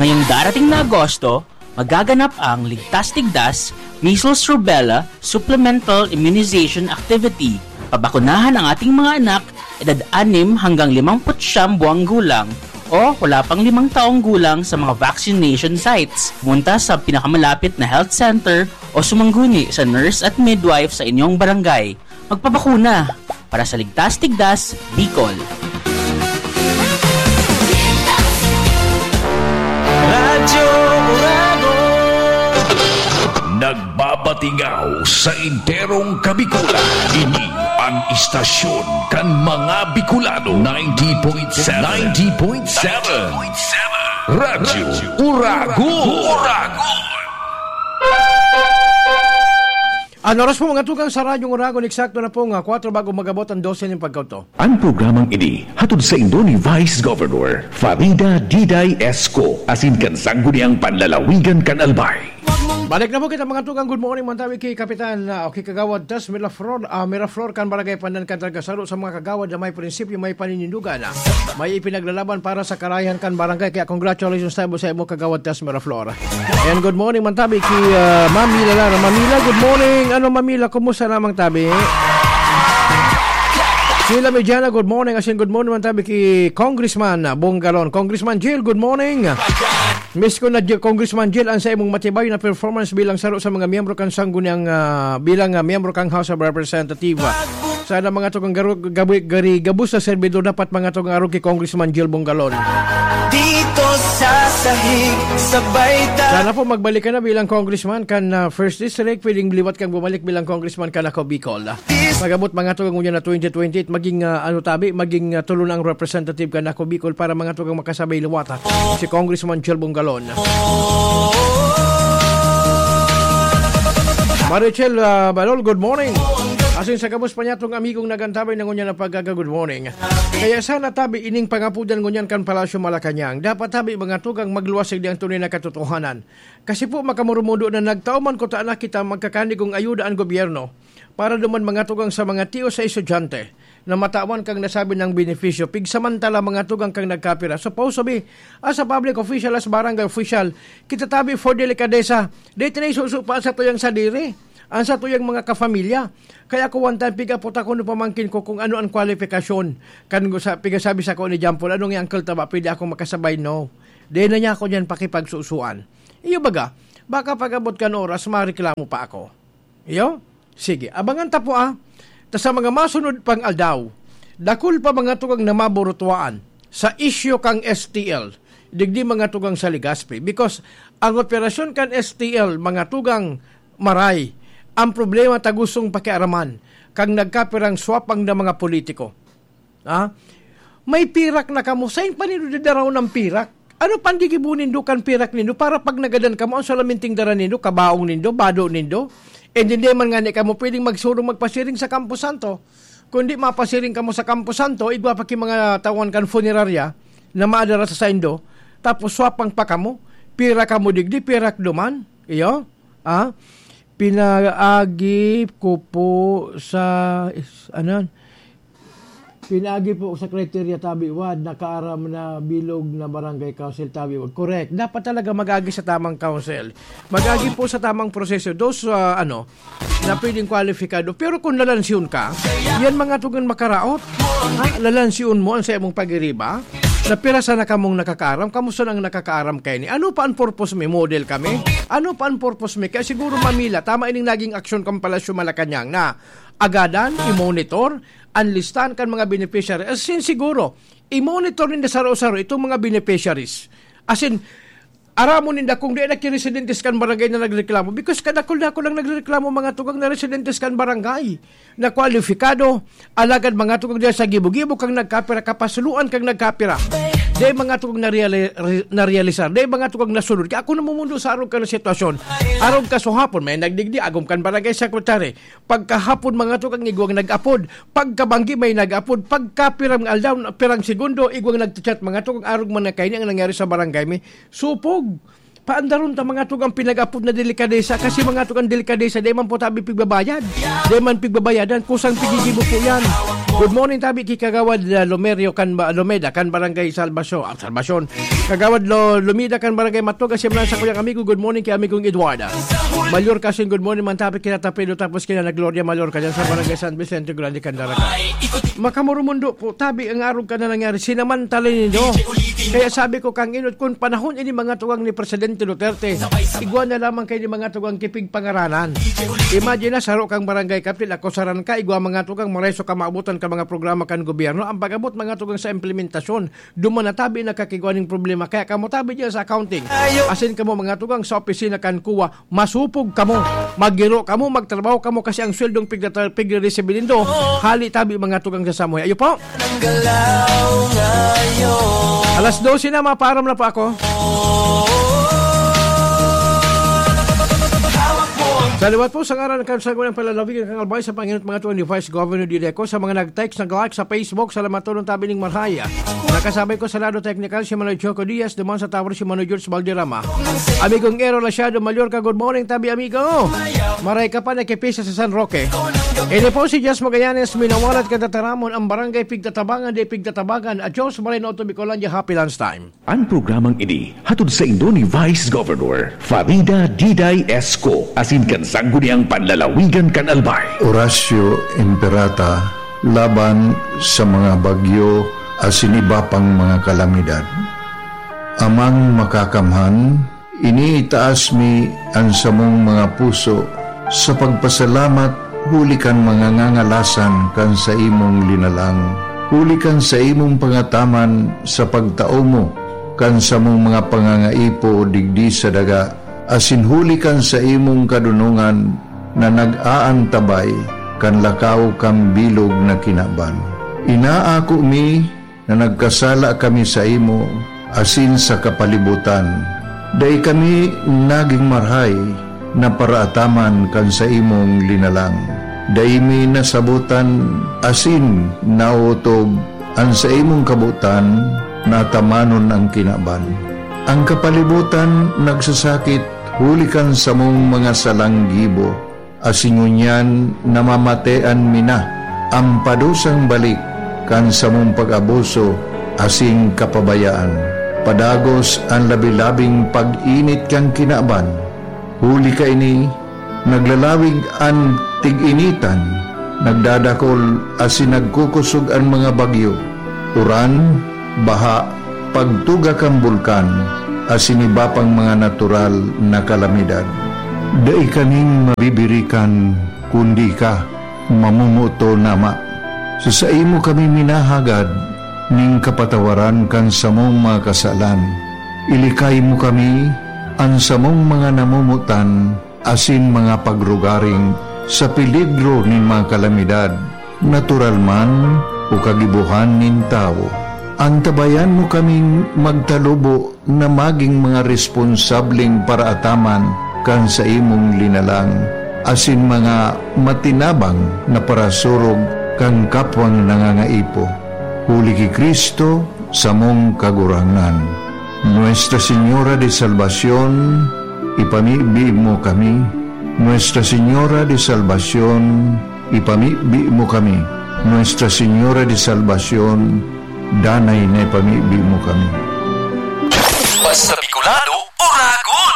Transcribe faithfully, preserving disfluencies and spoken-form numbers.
Ngayong darating na Agosto, magaganap ang Ligtas Tigdas Measles Rubella Supplemental Immunization Activity. Pabakunahan ang ating mga anak, edad anim hanggang limampu't siyam buwang gulang o wala pang limang taong gulang sa mga vaccination sites. Pumunta sa pinakamalapit na health center o sumangguni sa nurse at midwife sa inyong barangay. Magpabakuna para sa Ligtas Tigdas, Bicol. Radyo Uragon. Nagbabatingaw sa enterong Kabikulan. Ini an istasyon kan mga Bicolano. Ninety point seven. Ninety point seven. Radyo Uragon. Uragon. An oras po, mga tugang, sa Radyong Uragon, eksakto na po nga kwatro bago mag-abot ang dose nin pagkauto. Ang programang ini hatod saindo ni Vice Governor Farida Diday Esco, asin kan Sangguniang Panlalawigan kan Albay. Balik na po kita, mga tugang. Good morning man tabi ki Kapitan, ah, o ki Kagawad Tas Miraflor, ah, Miraflor kan Barangay Pandan kan Tagasaro sa mga kagawad na may prinsipyo, may paninindugan, ah, may ipinaglalaban para sa karayahan kan barangay. Kaya congratulations tabi sa imo, Kagawad Tas Miraflor. And good morning man tabi ki, ah, Mami Lalara. Mami La, good morning. Ano, Mami La, kumusta lamang tabi? Sheila Mediana, good morning. Asin good morning man tabi ki Congressman, ah, Bongalon. Congressman Jill, good morning. Miss ko na, Jill, Congressman Jill, ang sa imong matibay na performance bilang saro sa mga miyembro kan Sangguniang, ah, bilang, ah, miyembro kang House of Representative. Sana, mga tugang, garu-, gabi, gari, gabos na servidor dapat, mga tugang, arog ki Congressman Jill Bongalon. Dito sa sahig, sabay ta- Sana po magbalik ka na bilang congressman kan, ah, First District. Pwedeng liwat kang bumalik bilang congressman kan Ako Bicol. Pag-abot, mga tugang, ngunyan na twenty twenty-eight, maging, ah, ano tabi, maging, ah, tulo na ang representative kan Ako Bicol para, mga tugang, makasabay liwat, ah, si Congressman Jill Bongalon. Marichel, ah, Balol, good morning. Asin sa gabos pa niya tong amigong nagantabay na ngunyan na pagkaga, good morning. Kaya sana tabi ining pangapudan ngunyan kan Palasyo Malacañang. Dapat tabi, mga tugang, magluwas digdi ang tunay na katotohanan. Kasi po, makamurumudo na nagtao man kuta na kita magkakanigong ayuda ang gobyerno para duman, mga tugang, sa mga tiyo sa estudyante na matawan kang nasabi ng benepisyo, pigsamantala, mga tugang, kang nagkapira. Supposed to be, as a public official, as barangay official, kita tabi for delikadesa. Dito na isusupa sa tuyang sadiri, ang sa tuyang mga kafamilya. Kaya ako one time, pig-apot ako ng pamangkin ko kung ano ang kwalifikasyon. Kan sa, pigasabi sa ko ni Jampol, "Anong yung uncle taba, pwede ako makasabay?" No. Di na niya ako niyan pakipagsusuan. Iyo baga, baka pag-abot kan oras, mareklamo pa ako. Iyo? Sige, abangan ta po, ah. Ta sa mga masunod pang aldaw, dakul pa, mga tugang, na maburutuaan sa isyu kang S T L, digdi, mga tugang, sa Legazpi. Because ang operasyon kan S T L, mga tugang, maray, ang problema ta gustong pakiaraman kang nagkapirang swapang na mga politiko. Ha? May pirak na kamo. Sain pa nindo dadaraw ng pirak? Ano pa ang gigibo nindo kan pirak nindo para pag nagadan kamo, ang salaminting dara nindo, kabaong nindo, bado nindo? And hindi man nga ni kamo pwedeng magsurong magpasiring sa Campo Santo. Kundi mapasiring kamo sa Campo Santo, igwa pa ki mga tawan kan funerarya na maadara sa saindo, tapos swapang pa kamo, pira kamo digdi, pirak duman. Iyo? Ah? Pinaagi ko po sa, is-, ano? Pinaagi po sa criteria, tabi wad, nakaaram na bilog na barangay council, tabi wad. Correct. Dapat talaga mag-agi sa tamang council. Mag-agi po sa tamang proseso. Those, ah, ano, na pwedeng kwalipikado. Pero kung lalansyon ka, yan, mga tugang, makaraot. Ha? Lalansyon mo ang sa imong pag-iriba. Na pira sana kamong nakakaaram, kamusta nang nakakaaram kaini? Ano pa ang purpose mi? Model kami? Ano pa ang purpose mi? Kaya siguro, Mami La, tama ining naging aksyon kan Palasyo Malacañang na agadan, i-monitor, ang listahan kan mga beneficiary. As in, siguro, i-monitor ninda saro-saro itong mga beneficiaries. As in, aramon ninda kung di na ki residentes kan barangay na nagreklamo. Because kadakul-dakul ang nagreklamo, mga tugang, na residentes kan barangay na kwalipikado, alagad, mga tugang, diyan sa gibo-gibo kang nagkapira, kapasuluan kang nagkapira. Dahil, mga tugang, nareali-, re-, narealisar. Dahil, mga tugang, nasunod. Kaya ako namumundo sa arog ka na sitwasyon. Arog ka sa hapon, may nagdigdi, agom kan barangay secretary. Pagkahapon, mga tugang, igwang nag-apod. Pagkabanggi, may nag-apod. Pagkapirang aldaw, pirang segundo, igwang nagchat-chat, mga tugang, arog man na kaini ang nangyari sa barangay mi. Supog. Paandaron ta, mga tugang, pinag-apod na delikadesa, kasi, mga tugang, delikadesa, di man po tabi pigbabayad. Di man pigbabayadan, kusang pigigibo po yan. Good morning, tabi ki Kagawad, uh, Lomerio kan ba, Lomeda kan Barangay Salbasyo-, ah, Salbasyon. Kagawad Lo-, Lomeda kan Barangay Matuga, siya man sa kuyang amigo. Good morning ki amigong Eduarda. Mayor Kasin, good morning man, tabi kina Tapilo, tapos kina na Gloria Mayor ka dyan sa Barangay San Vicente Grande, Candaraga. Makamurumundo po, tabi ang arog ka na nangyari, sinamantala nindo. Kaya sabi ko, kang inot, kung panahon ini mga tugang ni Presidente Duterte, igwa na lamang kayo ni mga tugang kipig pangaranan. Imagine na, saro kang barangay captain, ako saran ka, igwa mga tugang, mareso ka maabutan ka mga programa kan gobyerno. Ang pag-abot mga tugang sa implementasyon, duman na tabi nakakigwa ning problema. Kaya kamo tabi dyan sa accounting. Asin kamo mga tugang sa opisina kan kuwa, masupog kamo. Maggiro kamo, magtrabaho kamo kasi ang sweldong pigdata-, pigre-resibi nindo, hali tabi mga tugang sa samuhay. Ayo po. Alas dose na, mapaaram na po ako. Sa liwat po, sa ngaran kan Sangguniang Panlalawigan kan Albay, sa panginot mga tuwan ni Vice Governor Dideco, sa mga nag-text, nag-like sa Facebook, salamat tulong tabi ning marhay. Nakasabay ko sa lado technical si Manoy Choco Diaz, duman sa tower si Manoy George Valderrama. Amigong Ero Lasiado, Mallorca, good morning tabi, amigo. Maray ka pa, nakipisa sa San Roque. Ini po si Jess Magallanes, minawalat ka tataramon, ang barangay pigtatabangan, di pigtatabangan. Adios, Maray na Otto Bicolandia, happy lunchtime. Ang programang ini hatod saindo ni Vice Governor Farida Diday Esco, asin kan Sangguniang Panlalawigan kan Albay. Horacio Imperata, laban sa mga bagyo asin iba pang mga kalamidad. Amang Makakamhan, iniitaas mi an samong mga puso sa pagpasalamat huli kan mga ngangalasan kan saimong linalang, huli kan saimong pangataman sa pagtao mo kan samong mga pangangaipo digdi sa daga, asin huli kan saimong kadonongan na nag-aantabay kan lakaw kan bilog na kinaban. Inaako mi na nagkasala kami saimo asin sa kapalibutan. Dai kami nagin marahay na paraataman kan saimong linalang. Dai mi nasabotan asin naotob an saimong kabotan na atamanon an kinaban. Ang kapalibutan nagsasakit huli kan samong mga salang gibo, asin ngunyan namamatean mi na an padusang balik kan samong pag-abuso asin kapabayaan. Padagos an labi-labing pag-init kan kinaban. Huli kaini, naglalawig an tig-initan, nagdadakol asin nagkukosog an mga bagyo, uran, baha, pagtuga kan bulkan, asin iba pang mga natural na kalamidad. Dai kaning mabibirikan, kundi ika, mamomoton, Ama. Sa saimo kami minahagad ning kapatawaran kan samong mga kasalan. Ilikay mo kami, an samong mga namomotan, asin mga pagrugaring sa peligro nin mga kalamidad, natural man o kagibohan nin tawo. Antabayan mo kaming magtalubo na magin mga responsableng paraataman kan saimong linalang, asin mga matinabang na parasurog kan kapwang nangangaipo. Huli ki Cristo, samong Kagurangnan. Nuestra Señora de Salvacion, ipamibi mo kami. Nuestra Señora de Salvacion, ipamibi mo kami. Nuestra Señora de Salvacion, danay na ipamibi mo kami. Basta Bicolano,